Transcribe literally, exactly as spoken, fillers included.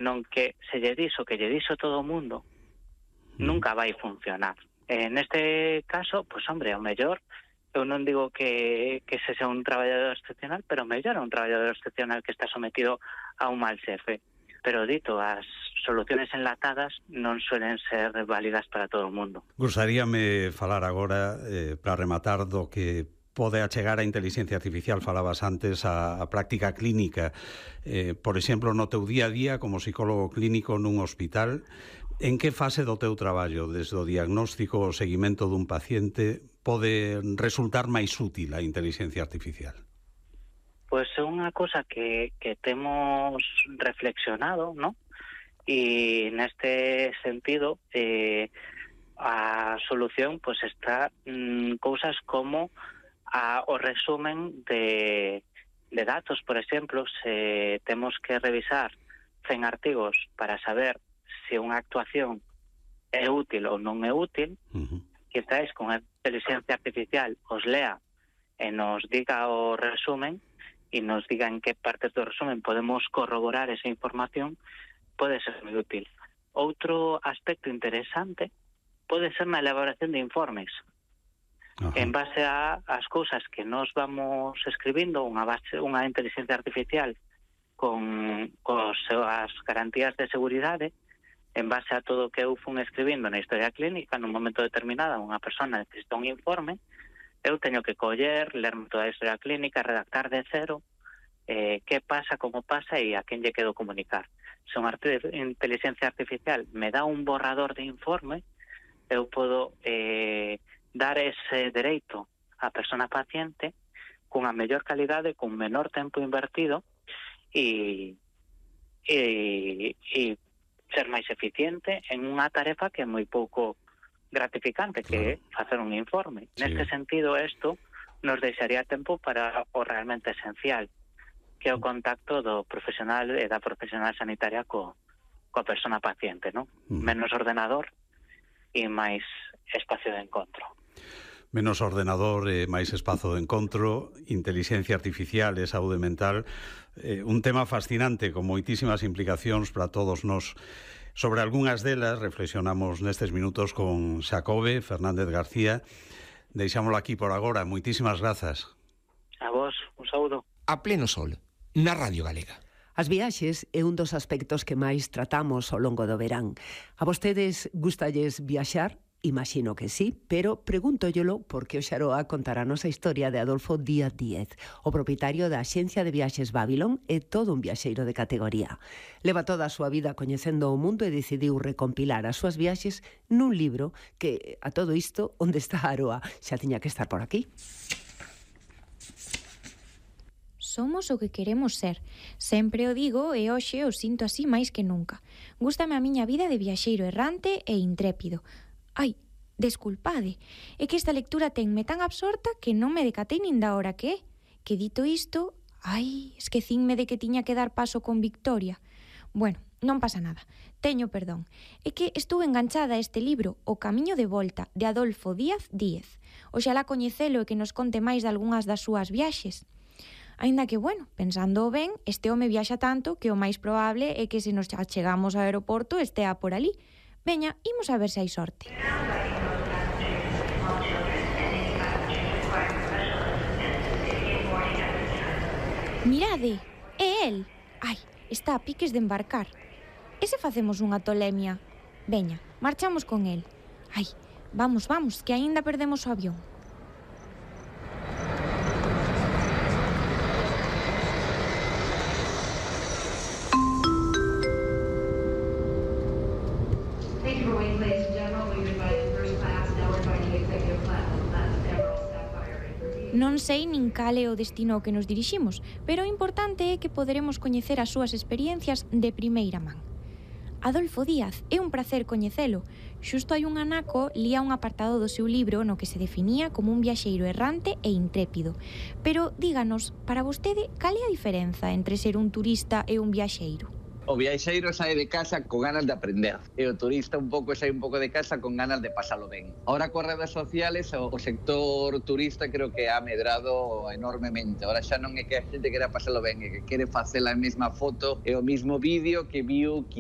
non que se lle dixo que lle dixo todo o mundo, mm. nunca vai funcionar. En este caso, pois, hombre, o mellor, eu non digo que, que se sea un traballador excepcional, pero mellor é un traballador excepcional que está sometido a un mal xefe. Pero dito, as soluciones enlatadas non suelen ser válidas para todo o mundo. Gustaríame falar agora, eh, para rematar, do que pode achegar a inteligencia artificial. Falabas antes a, a práctica clínica. Eh, por exemplo, no teu día a día como psicólogo clínico nun hospital, en que fase do teu traballo, desde o diagnóstico ao seguimento dun paciente, pode resultar máis útil a inteligencia artificial? Pois é unha cosa que, que temos reflexionado, ¿no? E neste sentido, eh, a solución pues está en cousas como a, o resumen de, de datos. Por exemplo, se temos que revisar cen artigos para saber se unha actuación é útil ou non é útil, uh-huh. quizás con a inteligencia artificial os lea e nos diga o resumen e nos diga en que partes do resumen podemos corroborar esa información, pode ser moi útil. Outro aspecto interesante pode ser na elaboración de informes. Ajá. En base a as cousas que nos vamos escribindo, unha base, unha inteligencia artificial con, con as garantías de seguridade, en base a todo o que eu fun escribindo na historia clínica, nun momento determinado, unha persona necesita un informe, eu teño que coller, lerme toda a historia clínica, redactar de cero, eh, que pasa, como pasa e a quen lle quedo comunicar. Se unha inteligencia artificial me dá un borrador de informe, eu podo eh, dar ese dereito á persona paciente cunha mellor calidade, cun menor tempo invertido e, e, e ser máis eficiente en unha tarefa que é moi pouco gratificante, que é facer un informe. Sí. Neste sentido, isto nos deixaría tempo para o realmente esencial, que é o contacto do profesional e da profesional sanitaria co, coa persona paciente, non? Mm. Menos ordenador e máis espacio de encontro. Menos ordenador e máis espazo de encontro, inteligencia artificial e saúde mental, eh, un tema fascinante con moitísimas implicacións para todos nós. Sobre algunhas delas reflexionamos nestes minutos con Xacobe Fernández García. Deixámoslo aquí por agora. Moitísimas grazas. A vos, un saúdo. A pleno sol, na Radio Galega. As viaxes é un dos aspectos que máis tratamos ao longo do verán. A vostedes gustalles viaxar? Imagino que sí, pero pregúntollelo porque o Xaroa contará-nos a historia de Adolfo Díaz Díez, o propietario da axencia de viaxes Babylon e todo un viaxeiro de categoría. Leva toda a súa vida coñecendo o mundo e decidiu recompilar as súas viaxes nun libro que, a todo isto, onde está Aroa? Xa tiña que estar por aquí. Somos o que queremos ser. Sempre o digo e hoxe o sinto así máis que nunca. Gústame a miña vida de viaxeiro errante e intrépido. Ai, desculpade, é que esta lectura tenme tan absorta que non me decatei nin da hora que é. Que dito isto, ai, esquecínme de que tiña que dar paso con Victoria. Bueno, non pasa nada, teño perdón. É que estuve enganchada a este libro, O camiño de volta, de Adolfo Díaz Díez. Oxalá coñecelo e que nos conte máis de algunhas das súas viaxes. Aínda que, bueno, pensando ben, este home viaxa tanto que o máis probable é que se nos achegamos ao aeroporto estea por ali. Veña, imos a ver se hai sorte. Mirade, é el. Ai, está a piques de embarcar. E se facemos unha tolemia? Veña, marchamos con el. Ai, vamos, vamos, que aínda perdemos o avión. Non sei nin cal é o destino ao que nos diriximos, pero o importante é que poderemos coñecer as súas experiencias de primeira man. Adolfo Díaz, é un placer coñecelo. Xusto hai un anaco lía un apartado do seu libro no que se definía como un viaxeiro errante e intrépido. Pero díganos, para vostede, cal é a diferenza entre ser un turista e un viaxeiro? O viaxeiro sae de casa con ganas de aprender e o turista un pouco sae un pouco de casa con ganas de pasalo ben. Ahora coas redes sociales o sector turista creo que ha medrado enormemente. Ahora xa non é que a xente quera pasalo ben, é que quere facer a mesma foto e o mismo vídeo que viu